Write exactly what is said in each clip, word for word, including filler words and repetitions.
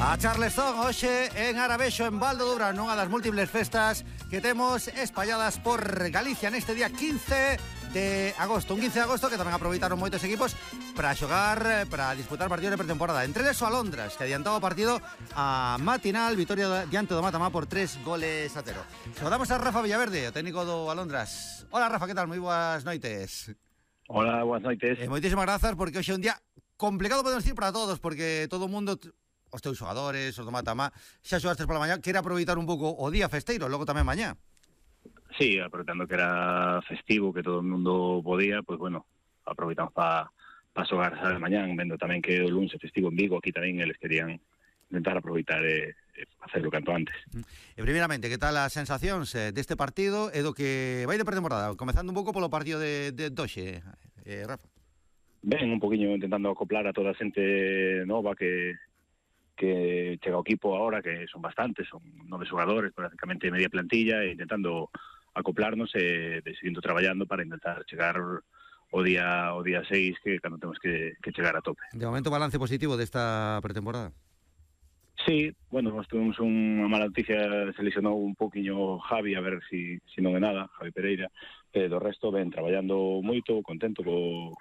A Charleston, hoxe en Arabexo, en Val do Dubrán, nunha das múltiples festas que temos espalladas por Galicia neste día quince de agosto. Un quince de agosto que tamén aproveitaron moitos equipos para xogar, para disputar partidos de pretemporada. Entre eles o Alondras, que adiantaba o partido a matinal, vitoria diante do Matamá por tres goles a cero. Saudamos a Rafa Villaverde, o técnico do Alondras. Hola Rafa, que tal? Moi boas noites. Hola, boas noites. Eh, moitísimas grazas, porque hoxe é un día complicado, podemos decir, para todos, porque todo o mundo, os teus xogadores, os do Matamá, xa xogastes pola mañá, quere aproveitar un pouco o día festeiro, logo tamén mañá. Sí, aproveitando que era festivo, que todo o mundo podía, pues bueno, aproveitamos para pa xogar a mañán, vendo tamén que o lunes é festivo en Vigo, aquí tamén eles querían intentar aproveitar e, e hacerlo canto antes. E primeiramente, que tal as sensacións eh, deste partido e do que vai de pretemporada? Comezando un pouco polo partido de, de doxe, eh, Rafa. Ben, un poquinho intentando acoplar a toda a xente nova que que chega ao equipo agora, que son bastantes, son nove xogadores, prácticamente media plantilla, e intentando acoplarnos e de seguindo traballando para intentar chegar o día o día seis, que cando temos que, que chegar a tope. De momento, balance positivo desta pretemporada? Sí, bueno, nós tuvemos unha mala noticia, se lesionou un poquinho Javi, a ver si, si non é nada, Javi Pereira, e do resto ven traballando moito, contento co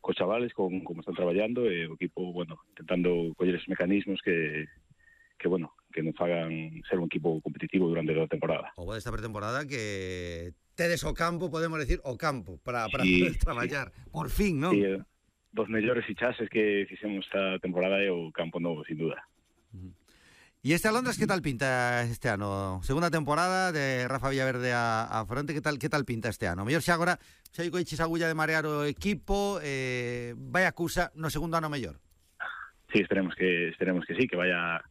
cos chavales, con como están traballando, e o equipo, bueno, intentando coller esos mecanismos que, que bueno, que nos fagan ser un equipo competitivo durante toda a temporada. O desta pretemporada que tedes o campo, podemos decir, o campo, para, para sí, poder traballar, sí. Por fin, non? Sí, dos mellores fichaxes que fixemos esta temporada é o campo novo, sin duda. Uh-huh. E este Alondras, que tal pinta este ano? Segunda temporada de Rafa Villaverde a, a fronte, que tal que tal pinta este ano? Mellor xa agora, xa hai coiches agulla de marear o equipo, eh, vai a cousa no segundo ano mellor? Sí, esperemos que esperemos que sí, que vaya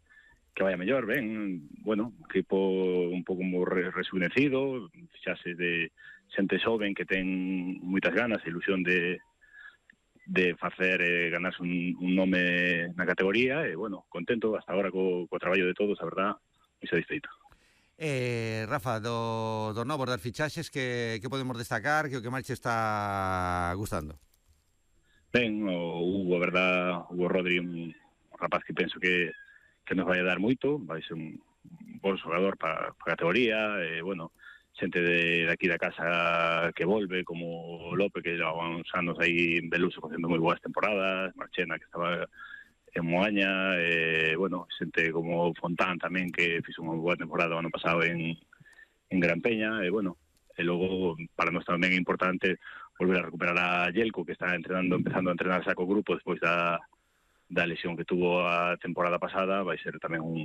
que vaya mellor, ben, bueno, equipo un pouco moi rejuvenecido, fixases de xente xoven que ten moitas ganas e ilusión de de facer eh, ganarse un, un nome na categoría, e, bueno, contento hasta agora co, co traballo de todos, a verdad, moi satisfeito. Eh, Rafa, do, do novos das fichaxes, que, que podemos destacar, que o que máis te está gustando? Ben, o Hugo, a verdad, Hugo Rodri, un rapaz que penso que, que nos vai a dar moito, vai ser un, un bon xogador para a categoría, e, bueno, xente de, de aquí da casa que volve, como Lope, que leva uns anos aí en Beluso facendo moi boas temporadas, Marchena, que estaba en Moaña, e, bueno, xente como Fontán tamén, que fixo unha boa temporada o ano pasado en, en Gran Peña, e, bueno, e logo, para nós tamén é importante volver a recuperar a Yelko, que está entrenando, empezando a entrenar saco grupo despois da, da lesión que tuvo a temporada pasada. Vai ser tamén un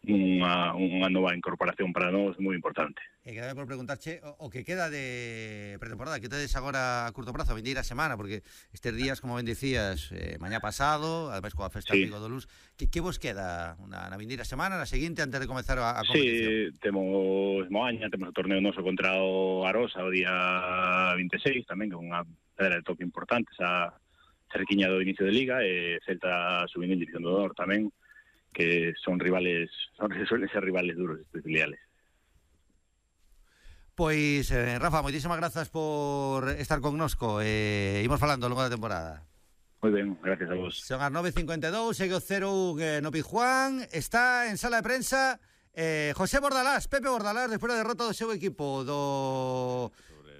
Unha, unha nova incorporación para nós moi importante. E quedame por preguntarche o, o que queda de pretemporada, que tedes agora a curto prazo, a vindeira semana, porque estes días, como ben dicías, eh, mañá pasado, ademais coa festa sí. Amigo do Luz, que, que vos queda na, na vindeira semana, na seguinte, antes de comezar a, a competición? Sí, temos Moaña, temos o torneo noso contra o Arosa o día vinte e seis, tamén, que é unha pedra de toque importante, esa cerquiña do inicio de Liga, e Celta subindo en División do Honor tamén, que son rivales, son, suelen ser rivales duros estes filiales. Pois, eh, Rafa, moitísimas grazas por estar connosco, e eh, imos falando ao longo da temporada. Moi ben, gracias a vos. Son as nove e cincuenta e dous, segue o cero un eh, no Pizjuán, está en sala de prensa eh, José Bordalás, Pepe Bordalás, despois da derrota do seu equipo do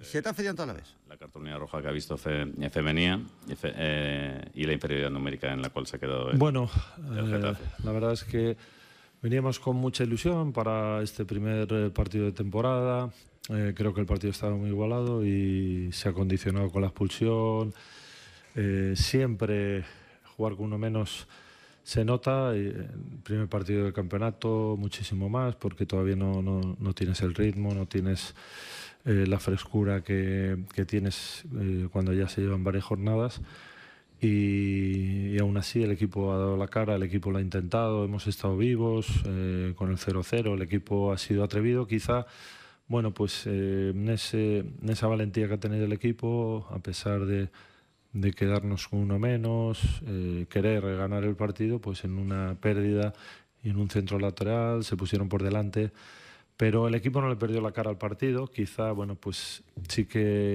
Xetafe diante a la vez. La cartulina roja que ha visto fe, femenía y, fe, eh, y la inferioridad numérica en la cual se ha quedado el, bueno, el Getafe. Eh, la verdad es que veníamos con mucha ilusión para este primer partido de temporada. Eh, creo que el partido estaba muy igualado y se ha condicionado con la expulsión. Eh, siempre jugar con uno menos se nota. El primer partido del campeonato muchísimo más, porque todavía no, no, no tienes el ritmo, no tienes Eh, la frescura que, que tienes eh, cuando ya se llevan varias jornadas, y, y aún así el equipo ha dado la cara, el equipo lo ha intentado, hemos estado vivos eh, con el cero cero, el equipo ha sido atrevido, quizá, bueno, pues eh, en, ese, en esa valentía que ha tenido el equipo, a pesar de, de quedarnos con uno menos, eh, querer ganar el partido, pues en una pérdida y en un centro lateral se pusieron por delante. Pero el equipo no le perdió la cara al partido, quizá, bueno, pues sí que